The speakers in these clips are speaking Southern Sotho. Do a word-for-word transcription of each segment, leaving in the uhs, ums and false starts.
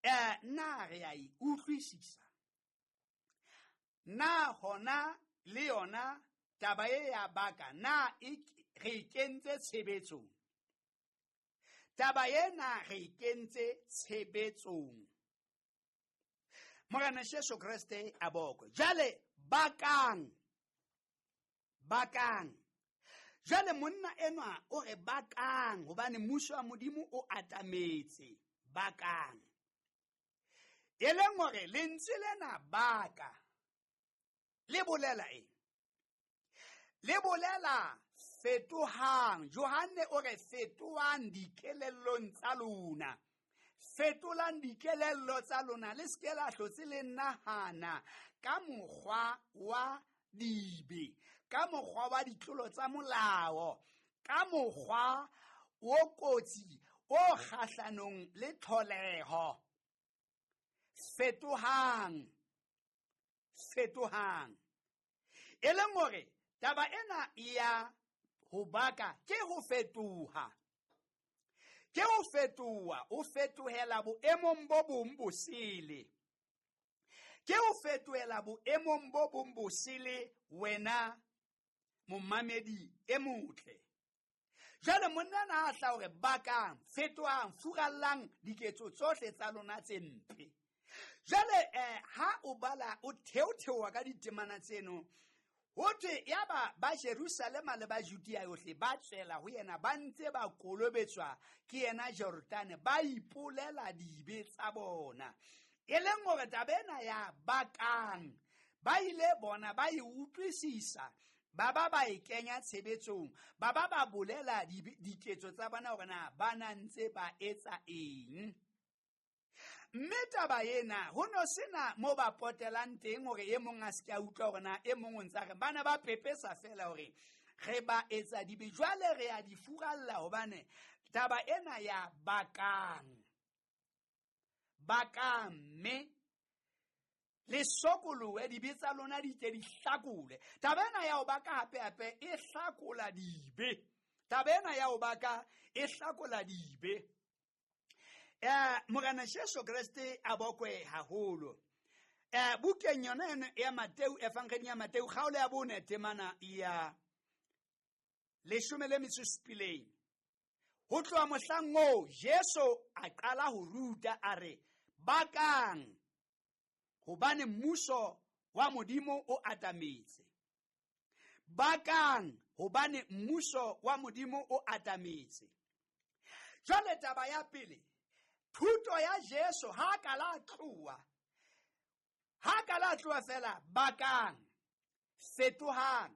Eh, na re a e utlwisisa? Na hona le yona taba e ya baka, na e, re e kentse tshebetsong? Taba ena re e kentse tshebetsong. Morena Jesu Kreste a bokwe. Jwale bakang, bakang. Jwale monna enwa o re bakang hobane mmuso wa Modimo o atametse. Bakang. E leng hore lentswe lena baka le bolela eng? Le bolela fetohang. Johanne o re fetohang dikelellong tsa lona. Fetolang dikelello tsa lona, le se ke la hlotse le nahana ka mokgwa wa dibe, ka mokgwa wa ditlolo tsa molao, ka mokgwa o kotsi o kgahlanong le tlholeho. Fetohang, fetohang. E leng hore taba ena ya ho baka ke ho fetoha. Ke ho fetoha, o fetohela boemong bo bong bosele. Ke ho fetohela boemong bo bong bosele wena momamedi e motle. Jwale monna na a hla hore bakang, fetohang, furallang diketso tsohle tsa lona tse mpe. Jwale eh, ha o bala o theotheoha ka ditemana tseno, ho thwe yaba ba Jerusalema le ba Judea yohle ba tswela ho yena, ba ntse ba kolobetswa ke yena Jordane, ba ipolela dibe tsa bona. E leng hore taba ena ya bakang, ba ile bona ba e utlwisisa, ba ba ba e kenya tshebetsong, ba ba ba bolela diketso tsa bona hore na ba na ntse ba etsa eng. Mme taba ena ho no sena mo ba potelang teng hore e mong a se ke a utlwa hore na e mong o ntse a re bana ba pepesa fela hore re ba etsa dibe, jwale re a di furalla hobane taba ena ya bakang, bakang mme le sokolohe, dibe tsa lona di tle di hlakole. Taba ena ya ho baka hape hape e hlakola dibe. Taba ena ya ho baka e hlakola dibe. Eh, Morena Jesu Kreste a bokwe haholo. Eh, bukeng yona eno ya Mateu, Evangeli ya Mateu, kgaolo ya bone temana ya leshome le metso e supileng. Ho tloha mohlang oo Jesu a qala ho ruta a re bakang hobane mmuso wa Modimo o atametse. Bakang hobane mmuso wa Modimo o atametse. Jwale taba ya pele, thuto ya Jesu ha ka la tloha, ha ka la tloha fela, bakang, fetohang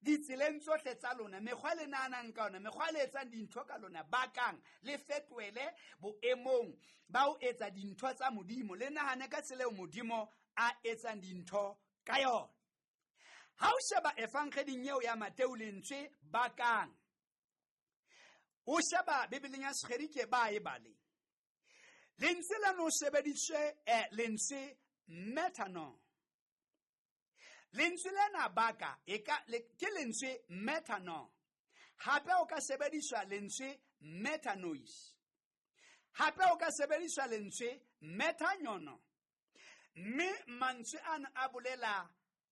ditseleng tsohle tsa lona, mekgwa le nahanang ka yona, mekgwa le etsang dintho ka lona, bakang, le fetohele boemong ba ho etsa dintho tsa Modimo, le nahane ka tsela eo Modimo a etsang dintho ka yona. Ha o sheba Evangeding eo ya Mateu lentswe bakang, o sheba Bibeleng ya Segerike ba e bale, lentswe lena o sebediswe eh, lentswe metano. Lentswe lena baka e ka, le, ke lentswe metano. Hape o ka sebediswa lentswe metanois. Hape o ka sebediswa lentswe metanyono. Mme mantswe ana a bolela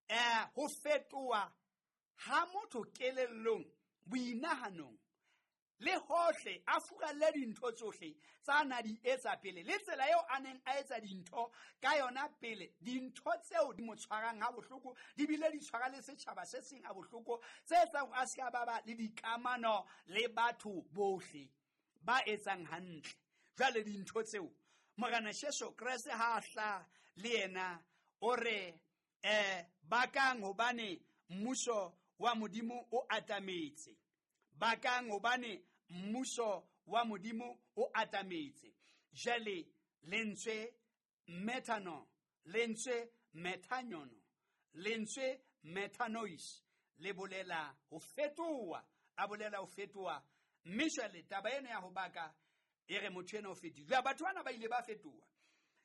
eh, ho fetoha ha motho kelellong, boinahanong, le hohle a furalle dintho tsohle tsa na di etsa pele, le tsela eo a neng a etsa dintho ka yona pele, dintho tseo di mo tshwarang ha bohloko, di bile di tshwara le setjhaba se seng ha bohloko, tse etsang hore a se ka ba ba le dikamano le batho bohle ba etsang hantle. Jwale dintho tseo Morena Jesu Kreste ha a hla le yena o re eh, bakang hobane mmuso wa Modimo o atametse. Bakang hobane mmuso wa Modimo o atametse. Jwale lentswe metano, lentswe metanyono, lentswe metanois le bolela ho fetoha, a bolela ho fetoha. Mme jwale taba ena ya ho baka e re motho ena o fetohile. Jwale batho bana ba ile ba fetoha.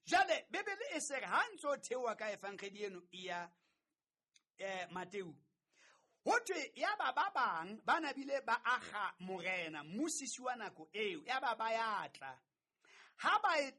Jwale Bibele e se re ha ntse o theoha ka Evangeli eno ya eh, Mateu, ho thwe yaba ba bang ba na bile ba akga morena mmusisi wa nako eo, yaba ba ya tla. Ha ba e,